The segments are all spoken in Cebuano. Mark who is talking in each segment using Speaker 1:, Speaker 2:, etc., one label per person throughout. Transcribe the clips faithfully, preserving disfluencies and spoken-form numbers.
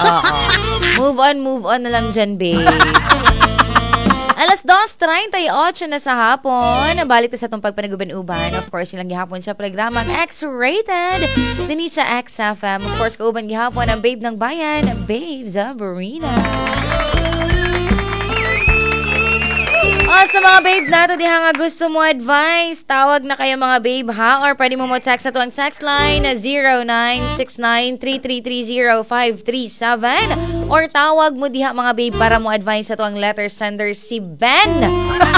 Speaker 1: Oo. Move on, move on na lang dyan, babe. Alas dos treinta y otso na sa hapon. Balik ta sa atong pagpanaguban-uban. Of course, ilang gihapon sa programang X-Rated dinhi sa X F M. Of course, kauban gihapon ang babe ng bayan, Babe Sabrina. O, sa mga babe nato diha nga gusto mo advice, tawag na kayo, mga babe, ha, or pwede mo mo text ato ang text line na zero nine six nine, three three three zero, five three seven or tawag mo diha, mga babe, para mo advice ato ang letter sender si Ben.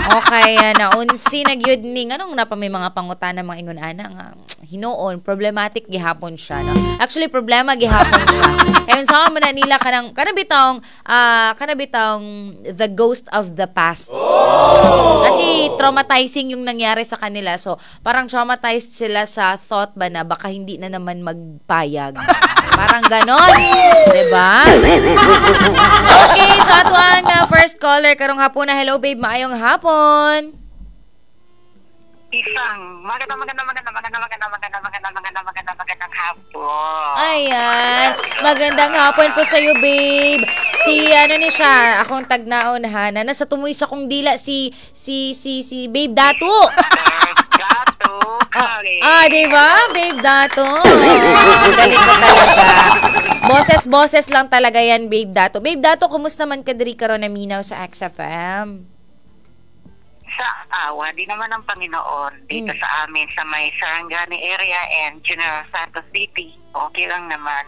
Speaker 1: Okay, naunsi na gyud ni nganong napa may mga pangutana mga ingon ana nga hinuon problematic gihapon siya, no? Actually, problema gihapon siya. Ayun sa mo na nila kanang kanang bitawng ah kanang bitawng the ghost of the past. Kasi traumatizing yung nangyari sa kanila. So, parang traumatized sila sa thought ba na baka hindi na naman magpayag. Parang ganon. 'Di ba? Okay, so ato ang uh, first caller karong hapon na. Hello, babe, maayong hapon.
Speaker 2: Isang maganda, maganda, maganda, maganda, maganda, maganda, maganda, maganda, maganda, magandang hapon.
Speaker 1: Ayan. Magandang hapon po sa iyo, babe. Si ano ni siya, akong tagnaon ha, na nasa tumoy sa kong dila si si si si Babe Datu.
Speaker 2: Gato,
Speaker 1: Ah, ah, di ba? Babe Dato. Ang galing ko talaga. Boses, boses lang talaga yan, Babe Dato. Babe Dato, kumusta man ka diri karon na minaw sa X F M?
Speaker 2: Sa awa, di naman ng Panginoon dito
Speaker 1: Mm.
Speaker 2: sa amin sa may Sarangani area and General Santos City. Okay lang naman.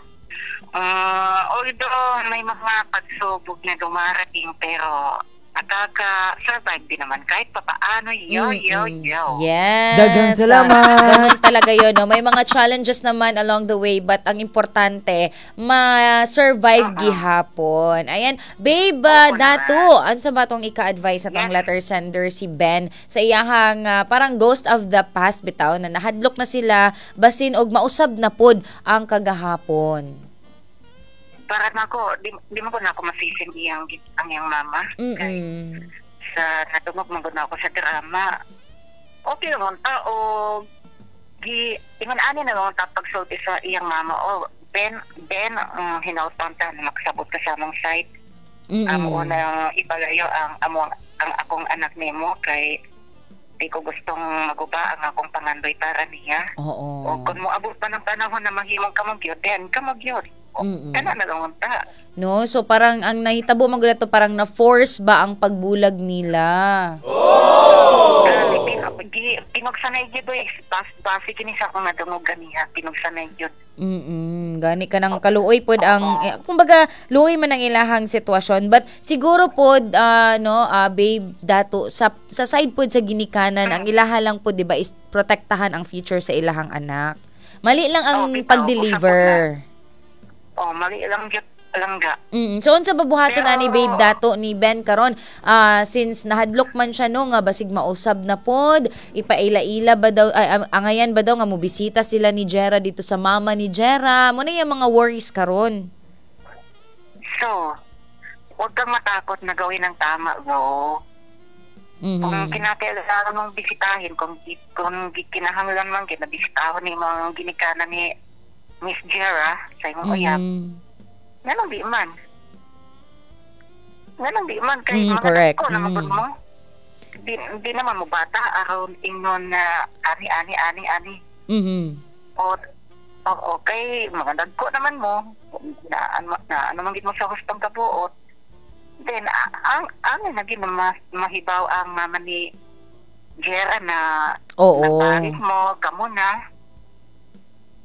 Speaker 2: Uh, although may mga pagsubok na dumarating, pero nakaka-survive din naman kahit papaano. Yo, yo,
Speaker 1: Mm-mm.
Speaker 2: yo.
Speaker 1: Yes.
Speaker 3: Daghang salamat.
Speaker 1: Ganun talaga yun. No? May mga challenges naman along the way, but ang importante, ma-survive
Speaker 2: Oo.
Speaker 1: gihapon. Ayan. Babe, uh,
Speaker 2: Oo
Speaker 1: Datu, unsa ba tong ika-advise sa tong
Speaker 2: Yes.
Speaker 1: letter sender si Ben sa iyahang ah, parang ghost of the past bitaw na nahadlok na sila basin og mausab na pod ang kagahapon?
Speaker 2: Para na ako, di, di mo ko na ako masisin iyang, ang iyang mama. Kay
Speaker 1: Mm-mm.
Speaker 2: sa natungog man gud na ako sa drama. Okay lang ta o gi ingon ani na lang ta pagsulti sa iyang mama o Ben, Ben, um, hinautan ta na makasabot ka sa among site.
Speaker 1: Mm-mm.
Speaker 2: Amo na ipalayo ang amo ang, ang akong anak nimo kay di ko gustong maguba ang akong pangandoy para niya.
Speaker 1: Oo.
Speaker 2: O kung moabot pa ng panahon na mahimong kamo gyud, then kamo gyud. O,
Speaker 1: Mm-mm.
Speaker 2: kana na lang ta.
Speaker 1: No, so parang ang nahitabo man gud ato, parang na-force ba ang pagbulag nila?
Speaker 2: Ah, pin, gi, pinugsanay gyud oy, bas base kini sa akong nadungog ganiha, pinugsanay gyud.
Speaker 1: Mm. Gani ka ng kaluoy pod ang eh, kumbaga luoy man ang ilahang sitwasyon, but siguro pod ah, no, ah, Babe Dato, sa sa side pod sa ginikanan, ang ilaha lang pod, di ba, is protektahan ang future sa ilahang anak. Mali lang ang
Speaker 2: Oh, bitaw,
Speaker 1: pag-deliver.
Speaker 2: Oh, mali lang gyud langga.
Speaker 1: Mm. So unsa ba buhaton
Speaker 2: Pero-
Speaker 1: ani, Babe Dato, ni Ben karon? Ah, since nahadlok man siya, no, nga basig mausab na pod, ipaila-ila ba daw ay, ang- angayan ba daw nga mobisita sila ni Jera dito sa mama ni Jera? Mo na yung mga worries karon.
Speaker 2: So, huwag kang matakot na gawin ang tama, bro.
Speaker 1: Mhm.
Speaker 2: Kung kinakailangan mong bisitahin, kung, kung kinahanglan man kinabisitahon ni mga ginikanan ni Miss Jera sa imong uyab,
Speaker 1: Mhm.
Speaker 2: nganong di man? Nganong di man? Kay
Speaker 1: Mm,
Speaker 2: mga
Speaker 1: correct.
Speaker 2: dako na magud
Speaker 1: Mm.
Speaker 2: mo. Di, di naman mo bata aron ingnon na ani, ani, ani, ani.
Speaker 1: Mhm.
Speaker 2: O, oo, kay mga dagko naman mo, na, ano, na ano man gid mo sa hustong kabuot. Then, a- ang, ang naging ma, mahibaw ang mama ni Jera na
Speaker 1: Oo.
Speaker 2: napalit mo, kamo na.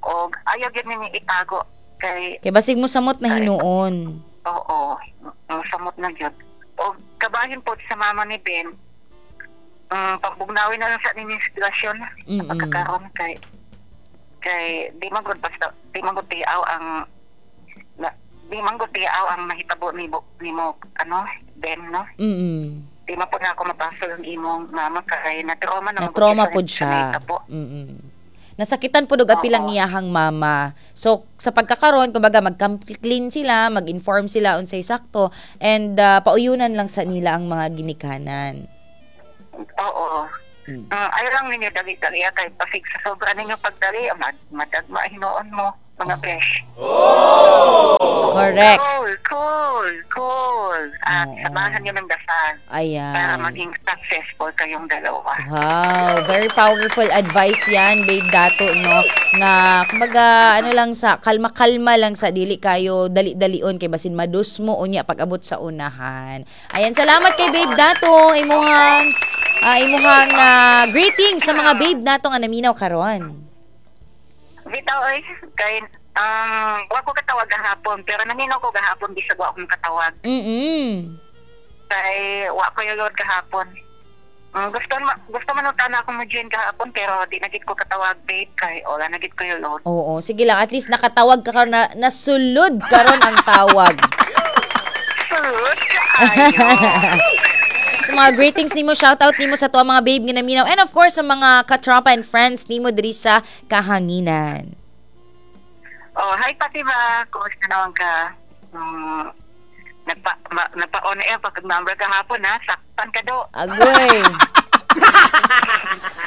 Speaker 2: O, ayaw gyud ninyo itago kay
Speaker 1: Kay basig mo samot na hinuon.
Speaker 2: Oo, ang samot na gyud. O kabahin po sa mama ni Ben, um, pagbugnawin na lang sa ninyong sitwasyon sa
Speaker 1: Mm-mm.
Speaker 2: pagkakaroon kay kay di man gud basta di man gud tiaw ang na, di man gud tiaw ang nahitabo ni nimo ano, Ben, no?
Speaker 1: Mm.
Speaker 2: Di man po na ako mapasol ang imong mama kay na trauma na
Speaker 1: Na trauma pod siya.
Speaker 2: Nahitabo.
Speaker 1: Mm. Nasakitan pod og apil ang
Speaker 2: Oo.
Speaker 1: iyahang mama. So sa pagkakaron, kumbaga mag-clean sila, mag-inform sila unsay sakto and uh, pauyunan lang sa nila ang mga ginikanan.
Speaker 2: Oo.
Speaker 1: Mm.
Speaker 2: Mm, ayaw lang ninyo dali-dali ah, kay pasig sa sobra ninyo pagdali, ah, mad madagma hinuon mo, mga besh.
Speaker 1: Correct.
Speaker 2: Roll. At
Speaker 1: Oo.
Speaker 2: samahan niyo ng dasal
Speaker 1: Ayan.
Speaker 2: para maging successful kayong dalawa.
Speaker 1: Wow, very powerful advice yan, Babe Dato, no? Nga, kumbaga, ano lang sa, kalma-kalma lang sa, dili kayo dali-dalion, kay basin madus mo, unya, pag-abot sa unahan. Ayan, salamat kay Babe Dato, imuhang, ah, imuhang ah, greetings sa mga babe nato nga naminaw karon.
Speaker 2: Bitaw oy, kay um wa ko katawag gahapon pero naminaw ko gahapon bisag wa akong katawag.
Speaker 1: Mm-mm.
Speaker 2: Kay wa ko yung load gahapon. Um, gusto ma, gusto man na ako mo join gahapon pero di na gid ko katawag babe kay wala na gid ko yung load.
Speaker 1: Oo, sige lang, at least nakatawag ka karon na nasulod karon ang tawag.
Speaker 2: Sulod kaayo.
Speaker 1: Sa mga greetings nimo, shoutout nimo sa tuwa mga babe nga naminaw and of course sa mga katropa and friends nimo diri sa kahanginan.
Speaker 2: Oh, hi Fatima, kumusta naman ka? Um, nagpa ma, nagpa-on air pag number gahapon ha, saktan ka do.
Speaker 1: Agoy.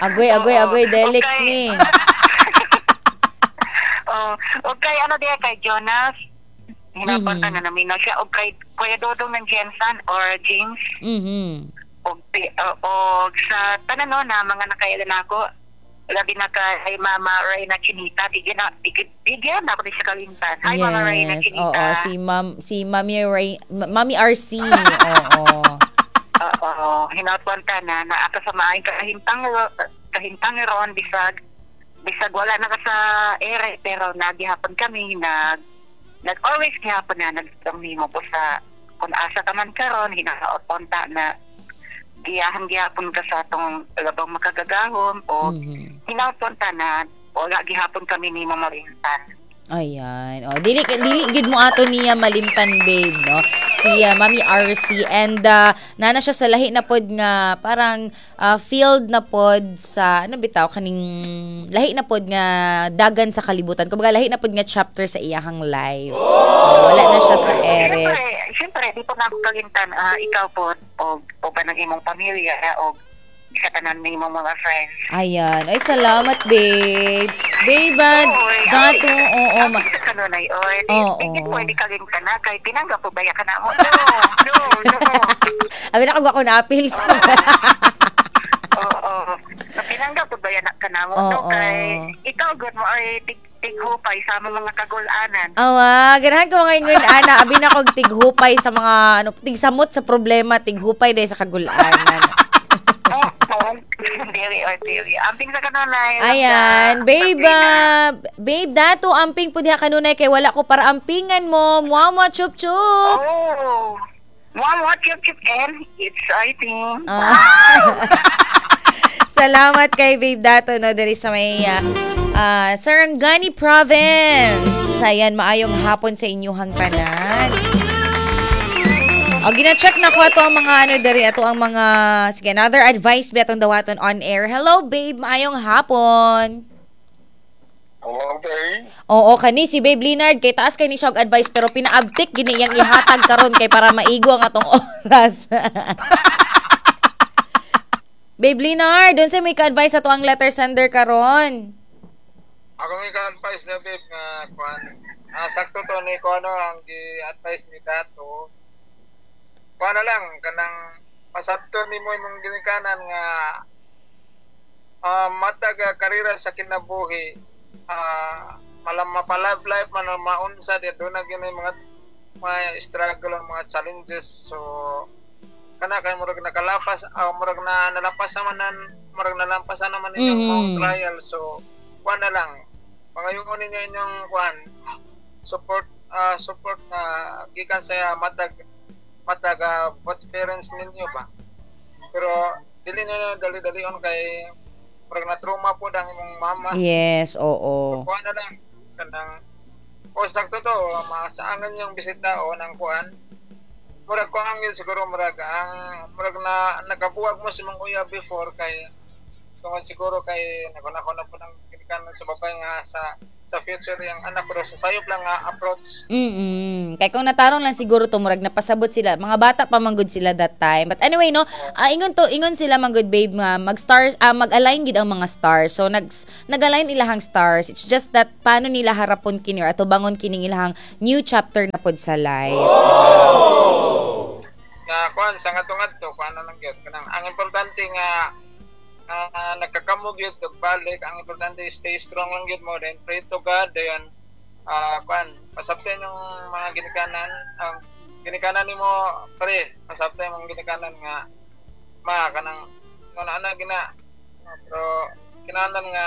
Speaker 1: Agoy, agoy, agoy, Delix
Speaker 2: Okay.
Speaker 1: ni.
Speaker 2: Oh, okay, ano diya kay Jonas? Hinapan
Speaker 1: Mhm.
Speaker 2: ka na naminaw siya. O kay Kuya Dodong ng Jensen or James.
Speaker 1: Mhm.
Speaker 2: O, o, o sa tanan no, na mga nakailan ako, labi na kay Mama Reyna Chinita. Bigyan na, bigyan, bigyan na ako ni siya kalimtan. Hi, Mama Reyna
Speaker 1: Yes,
Speaker 2: Chinita.
Speaker 1: oo, si Ma'am si Mami Ray, Ma- Mami R C. Oo.
Speaker 2: Oo, hinatwan ka na na ako sa maayong kahintang kahintang ron bisag bisag wala na ka sa ere pero nagihapon kami nag nag always gihapon na nagtang nimo po sa kung asa ka man karon hinaot unta na giyahan gihapon ka sa atong labang makagagahom o
Speaker 1: Mhm.
Speaker 2: hinaot unta na wala gihapon kami nimo malintan.
Speaker 1: Ayan. O, dili dili gid mo ato niya malimtan babe, no? Si ah, Mami R C and uh, nana siya sa lahi na pod nga parang ah, field na pod sa ano bitaw kaning lahi na pod nga dagan sa kalibutan. Kumbaga lahi na pod nga chapter sa iyahang life. Oh, wala na siya sa ere.
Speaker 2: Siyempre, siyempre, di po na ako kalimtan, ah, ikaw po, o, o ba ng imong pamilya, o sa tanan ng imong mga friends.
Speaker 1: Ayan. Ay, salamat, babe. Babe, ah,
Speaker 2: Oy,
Speaker 1: dato,
Speaker 2: ay,
Speaker 1: oo.
Speaker 2: Ang
Speaker 1: ma-
Speaker 2: sa kanunay, oy, di,
Speaker 1: Oo.
Speaker 2: di, di pwede kalimtan na, kay tinanggap po ba ya ka na mo? No, no, no.
Speaker 1: Abi na ako na appeal sa
Speaker 2: Oo, Tinanggap po ba ya na ka na mo? No,
Speaker 1: Oo.
Speaker 2: kay ikaw, good mo, ay, tig, tighupay sa mga kagulanan.
Speaker 1: Awa, ganahan ko mga ingon ana, abi na kog tighupay sa mga ano, tigsamot sa problema, tighupay dahil sa kagulanan.
Speaker 2: Oo, dili, oy, dili. Amping sa kanunay.
Speaker 1: Ayan, babe, ah, babe, dato amping pud diha kanunay kay wala ko para ampingan mo. Muwa muwa chup chup.
Speaker 2: Oh. One, what, chup, chup, and exciting.
Speaker 1: Ah. Salamat kay Babe Dato no diri sa may ah, ah, Sarangani Province. Ayan, maayong hapon sa inyuhang tanan. O, gina-check na ko ato ang mga ano diri ato ang mga sige another advice ba atong dawaton on air. Hello babe, maayong hapon.
Speaker 3: Hello, babe.
Speaker 1: Oo, kani si Babe Leonard kay taas kay ni siya og advice pero pinaabtik gini iyang ihatag karon kay para maigo ang atong oras. Babe Leonard, unsa may ka-advice ato ang letter sender karon?
Speaker 3: Ako nga ka-advise na, babe, nga kuan. Ah, sakto to ni ko ano ang gi-advise ni Dato. Kuan na lang kanang pasabto nimo imong ginikanan nga ah, matag ah, karera sa kinabuhi ah malam mapalab life man o maunsa di doon na gyud mga mga struggle ang mga challenges so kana kay murag nakalapas ah, murag na nalapas naman nan murag nalampasan naman ninyong
Speaker 1: Mhm.
Speaker 3: mm trial so kuan na lang pangayon ninyo inyong kuan support ah, support na gikan sa matag matag ah, both parents ninyo ba pero dili na dali-dalion kay murag na trauma po ang imong mama
Speaker 1: Yes, oo.
Speaker 3: kuan na lang kanang o sakto to masaangan yung bisita o ng kuan murag kuan yun siguro murag ang murag na nakabuwag mo sa mga uya before kay tungod siguro kay nakunako na po ng ginikanan sa babae nga sa sa future yung anak pero sa sayop lang nga approach
Speaker 1: Mm. Kay kung natarong lang siguro to murag napasabot sila. Mga bata pa manggod sila that time. But anyway no, ah, ingon to ingon sila manggod babe nga mag stars ah, mag-align gid ang mga stars. So nag nag-align ilahang stars. It's just that paano nila harapon kini or atubangon kining ilahang new chapter na pod sa life.
Speaker 3: nga kuan sa ngadto-ngadto kuan na lang gyud kanang ang importante nga uh, nagkakamog gyud og balik. Ang importante, stay strong lang gyud mo, then pray to God, then uh, kuan, pasabtay yung mga ginikanan, ang ginikanan nimo pre, pasabtay mong ginikanan nga ma kanang nga ana gina, pero kinahanglan nga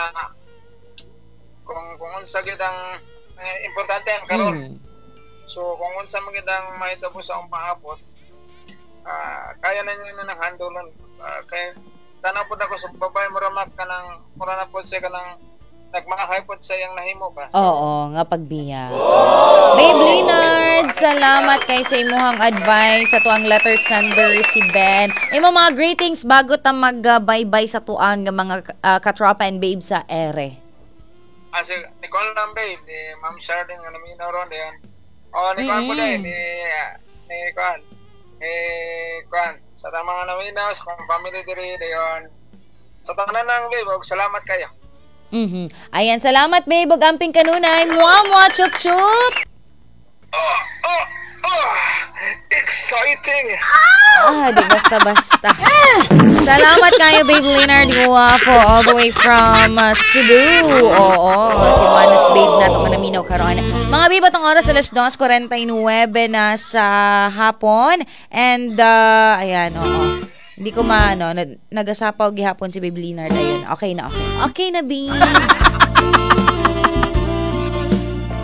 Speaker 3: kung kung unsa gyud ang eh, importante ang karon.
Speaker 1: Mm.
Speaker 3: So kung unsa man gyud ang mahitabo sa akong paabot, ah, kaya na niya na nang handle. Uh, kay tanaw pud ako sa babae, mura mak kanang mura na pud siya kanang nagmahay pud sa iyang nahimo ba. So,
Speaker 1: Oo, nga pagbiya. Babe Leonard, salamat kay sa imuhang advice sa tuang letter sender si Ben. Imo mga greetings bago ta mag uh, bye-bye sa tuang mga uh, katropa and babe sa ere.
Speaker 3: Ah, si Nicole lang babe, ni Ma'am Sharding nga naminaw ron diyan. Oh, ni Kuan po
Speaker 1: Mm-mm.
Speaker 3: dahil, ni ni Kuan. Ni Kuan, sa tamang mga naminaw, sa kong family diri dayon. Sa tanan lang babe, og salamat kayo.
Speaker 1: Mhm. Ayan, salamat babe ug amping kanunay. Mua mua chup chup.
Speaker 3: Oh, oh, oh, exciting!
Speaker 1: Ah, di basta-basta. Salamat kayo, Babe Leonard Guapo, all the way from uh, Cebu. Oo, si Juanes Babe na itong naminaw karon. Mga babe, atong oras alas dos kuwarenta y nuwebe na sa hapon. And, uh, ayan, oo. Hindi ko maano, nag- nagasapaw gihapon si Babe Leonard. Ayun, okay na, okay. Okay na, babe.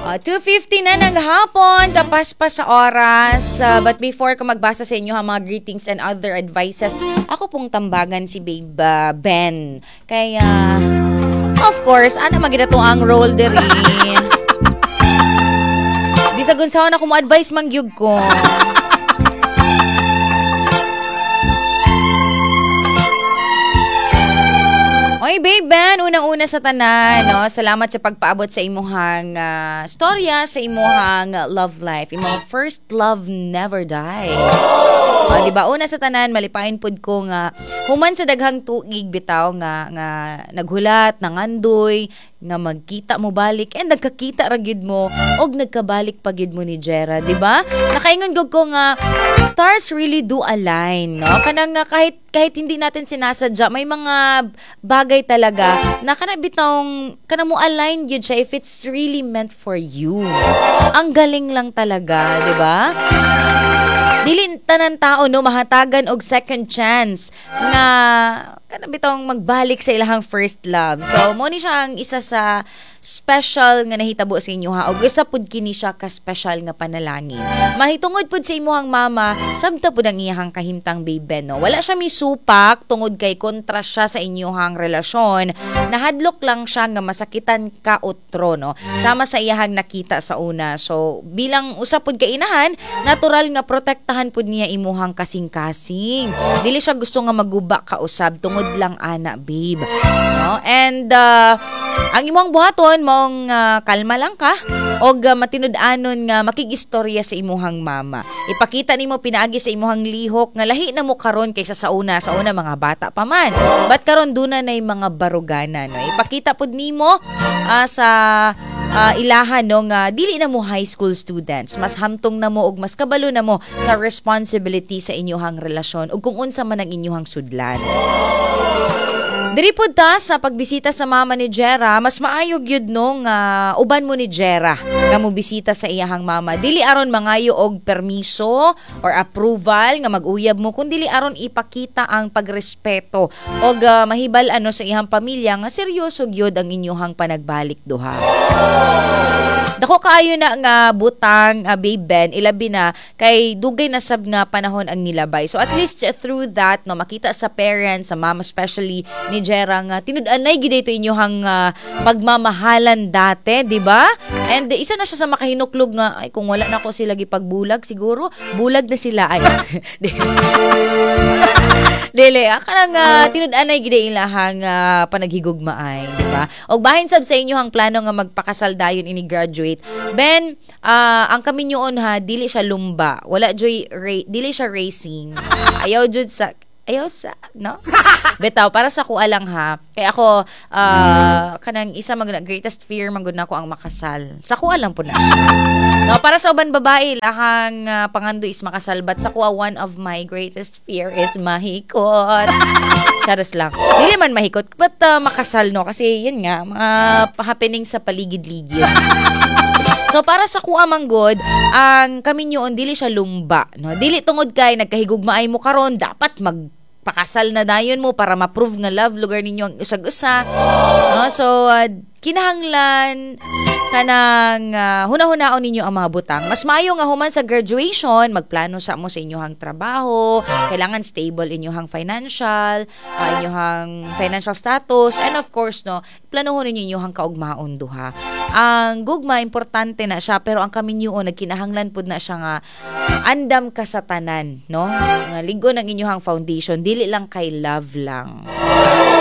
Speaker 1: Uh, two fifty na ng hapon, kapas pa sa oras. Uh, but before ko magbasa sa inyo ang mga greetings and other advices, ako pong tambagan si Babe uh, Ben. Kaya, of course, ana magida to ang role diri. Bisag unsaon ako mo advice mangyug ko. Oy, Babe Ben, unang-una sa tanan, no? Salamat sa pagpaabot sa imuhang ah, storya, sa imuhang ah, love life. Imong first love never dies. O, di ba? Una sa tanan, malipayon pud ko nga human sa daghang tuig bitaw nga nga naghulat, nangandoy, nga magkita mo balik and nagkakita ra gyud mo og nagkabalik pa gyud mo ni Jera, di ba? Nakaingon gud ko nga stars really do align, no? Kanang nga kahit kahit hindi natin sinasadya, may mga bagay talaga na kana bitawng kana mo align gyud siya if it's really meant for you. Ang galing lang talaga, di ba? Dili tanan tao no mahatagan og second chance nga kana bitawng magbalik sa ilahang first love. So mo ni siya ang isa sa special nga nahitabo sa inyo ha og isa pud kini siya ka special nga panalangin. Mahitungod pud sa imuhang mama, sabta pud ang iyahang kahimtang, Babe Ben, no. Wala siya misupak tungod kay kontra siya sa inyuhang relasyon. Nahadlok lang siya nga masakitan ka utro no. Sama sa iyahang nakita sa una. So bilang usa pud ka inahan, natural nga protektahan pud niya imuhang kasing-kasing. Dili siya gusto nga maguba ka usab tungod lang ana, babe. No? And uh, ang imong buhaton mong uh, kalma lang ka og uh, matinud-anon nga makigistorya sa imuhang mama. Ipakita nimo pinaagi sa imuhang lihok nga lahi na mo karon kaysa sa una. Sa una mga bata pa man. But karon duna nay mga barugana no. Ipakita pud nimo uh, sa uh, ilahan no nga dili na mo high school students. Mas hamtong na mo og mas kabalo na mo sa responsibility sa inyuhang relasyon ug kung unsa man ang inyuhang sudlan. Diri pud ta sa pagbisita sa mama ni Jera, mas maayo gyud no nga uban mo ni Jera nga mo bisita sa iyahang mama. Dili aron mangayo og permiso or approval nga mag-uyab mo, kun dili aron ipakita ang pagrespeto og uh, mahibal ano sa iyang pamilya nga seryoso gyud ang inyuhang panagbalik duha. Dako kaayo na nga butang, uh, Babe Ben, ilabi na kay dugay na sab nga panahon ang nilabay. So at least through that no makita sa parents, sa mama especially ni Jera nga tinud-anay gid ito inyuhang uh, pagmamahalan dati, di ba? And isa na siya sa makahinuklog nga ay kung wala na ko sila gipagbulag siguro, bulag na sila ay. Dili, ah, kanang uh, tinud-anay gid ilahang uh, panaghigugmaay, di ba? Og bahin sab sa inyohang plano nga magpakasal dayon ini graduate. Ben, uh, ang kaminyoon ha, dili siya lumba. Wala joy ra- dili siya racing. Ayaw jud sa Ayaw sa, no? Bitaw, para sa kuha lang ha. Kaya ako, uh, kanang isa mag greatest fear man gud nako ang makasal. Sa kuha lang po na. No, para sa uban babae, lahang uh, pangando is makasal. But sa kuha, one of my greatest fear is mahikot. Charos lang. Dili man mahikot, but uh, makasal, no? Kasi yun nga, mga happening sa paligid-ligid. So para sa kuha man gud, ang kaminyoon dili siya lumba, no? Dili tungod kay nagkahigugmaay mo karon, dapat magpakasal na dayon mo para ma-prove nga love lugar ninyo ang usag-usa. No? So uh, kinahanglan kanang uh, huna-hunaon ninyo ang mga butang. Mas maayo nga human sa graduation, magplano sa mo sa inyong trabaho, kailangan stable inyong financial, uh, inyong financial status, and of course, no, planuhon ninyo inyong kaugmaon duha. Ang gugma importante na siya, pero ang kaminyoon nagkinahanglan pud na siya nga andam ka sa tanan, no? Nga lig-on ang inyong foundation, dili lang kay love lang.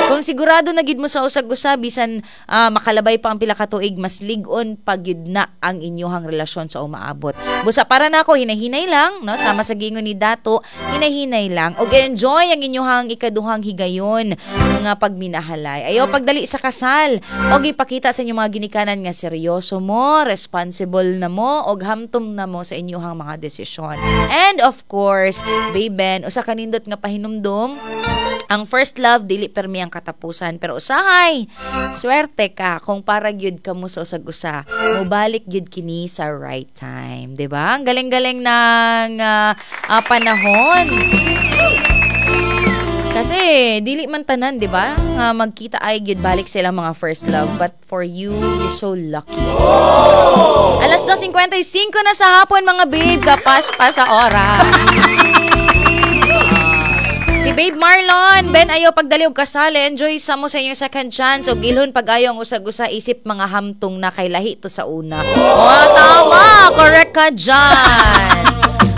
Speaker 1: Kung sigurado na gid mo sa usag-usa bisan uh, makalabay pa ang pila ka tuig, mas lig-on pagyud na ang inyong relasyon sa umaabot. Busa para nako hinahinay lang, no? Sama sa gingon ni Dato, hinahinay lang og enjoy ang inyong ikaduhang higayon nga pagminahalay. Ayaw pagdali sa kasal og ipakita sa inyong mga ginikanan nga seryoso mo, responsible na mo og hamtom na mo sa inyong mga desisyon. And of course, baben, usa ka nindot nga pahinumdum, ang first love dili permi ang katapusan, pero usahay swerte ka kung para gyud ka mo sa usag-usa, mobalik gyud kini sa right time, di ba? Ang galing-galing ng uh, uh, panahon. Kasi dili man tanan, di ba? Nga magkita ay gyud balik sila mga first love, but for you, you're so lucky. Alas dos singkwenta y singko na sa hapon, mga babe, kapas pa sa oras. Si Babe Marlon, Ben, ayaw pagdali og kasal, enjoy sa mo sa inyong second chance og ilhon pag-ayo ang usag-usa isip mga hamtong na kay lahi to sa una. Oh, tama, correct ka dyan.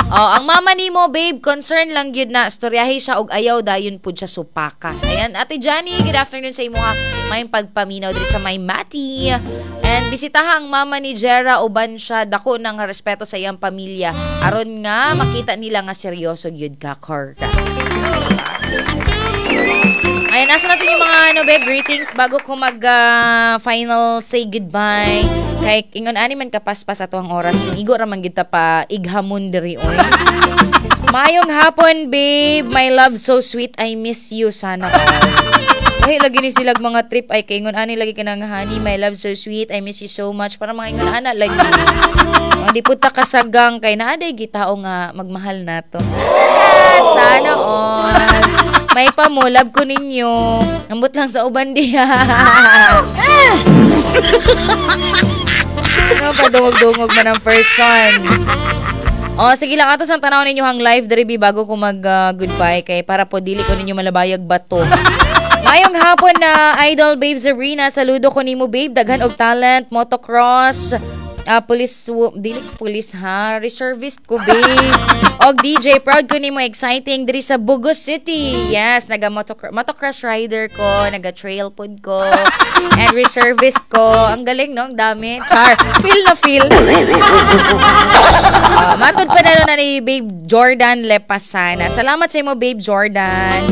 Speaker 1: Oh, ang mama nimo, babe, concern lang gyud na storyahi siya og ayaw dayon pud siya supaka. Ayan, Ate Johnny, good afternoon sa imo ha. May pagpaminaw diri sa may Mati. And bisitaha ang mama ni Jera, uban siya dako ng respeto sa iyang pamilya. Aron nga makita nila nga seryoso gyud ka, correct. Ayan, nasa natin yung mga ano, be, greetings bago ko mag uh, final say goodbye. Kay ingon ani man kapaspas ato ang oras. Igo ra man gid ta pa ighamon diri oy. Mayong hapon, babe. My love so sweet. I miss you sana all. Ay, lagi ni silag mga trip ay kay ingon ani lagi kanang honey, my love so sweet. I miss you so much. Para mga ingon ana lagi. Mga di pud ta kasagang kay naa day gitao nga magmahal nato. Ah, sana all. May pa mo, love ko ninyo. Ambot lang sa uban diha. Ano pa dungog-dungog man ang person. O, sige lang, ato sang tanaw ninyo ang live diri bi bago ko mag uh, goodbye kay para po dili ko ninyo malabayag bato. Mayong hapon na idol Babe Sabrina, saludo ko nimo, babe, daghan og talent, motocross, uh, police, dili police ha, reservist ko, babe. Og D J, proud ko nimo, exciting diri sa Bugo City. Yes, naga motocross, motocross rider ko, naga trail pod ko, and reservist ko. Ang galing no, ang dami. Char, feel na feel. Uh, matod pa na na ni Babe Jordan Lepasana. Salamat sa imo, Babe Jordan.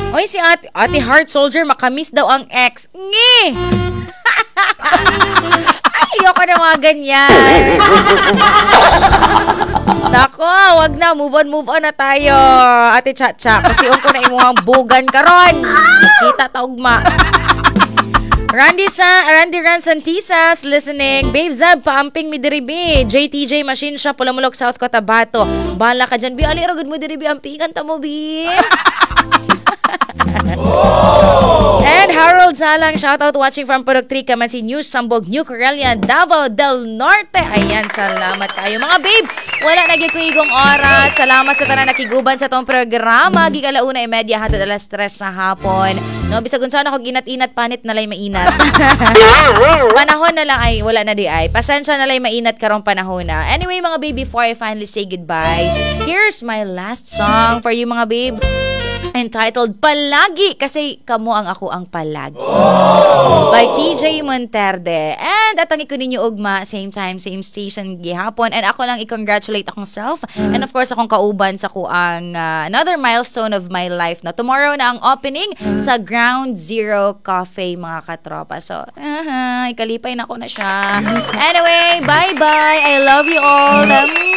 Speaker 1: Oy, si Ate, Ate Heart Soldier, makamiss daw ang ex. Ngi! Ay, ayoko na mga ganyan. Nako, wag na. Move on, move on na tayo. Ate Chacha, kasi ko na imuhang bugan karon. Kita taugma. Randy sa Randy Ran Santisas listening. Babe Zab, paamping mi diri bi. J T J Machine Shop, Pulamulok, South Cotabato. Bala ka dyan bi. Ali ra gud mo diri bi, ampingan ta mo bi. And Harold Salang, shout out watching from Purok three, Kamansi News, Sambog, New Corellia, Davao del Norte. Ayan, salamat kayo. Mga babe, wala na gyud ko igong oras. Salamat sa tanan nakiguban sa tong programa. Gigalauna imedya hatod alas tres sa hapon. No, bisag unsa na ko ginat-inat, panit na lay mainat. Panahon na lang ay wala na di ay. Pasensya na lay mainat karong panahon na. Anyway, mga babe, before I finally say goodbye, here's my last song for you, mga babe. Entitled "Palagi", kasi kamo ang ako ang palagi. By T J Monterde. And atangi ko ninyo ugma, same time, same station gihapon. And ako lang i-congratulate akong self and of course akong kauban sa kuang uh, another milestone of my life na tomorrow na ang opening sa Ground Zero Cafe, mga katropa. So, uh, ikalipay na ko na siya. Anyway, bye-bye. I love you all.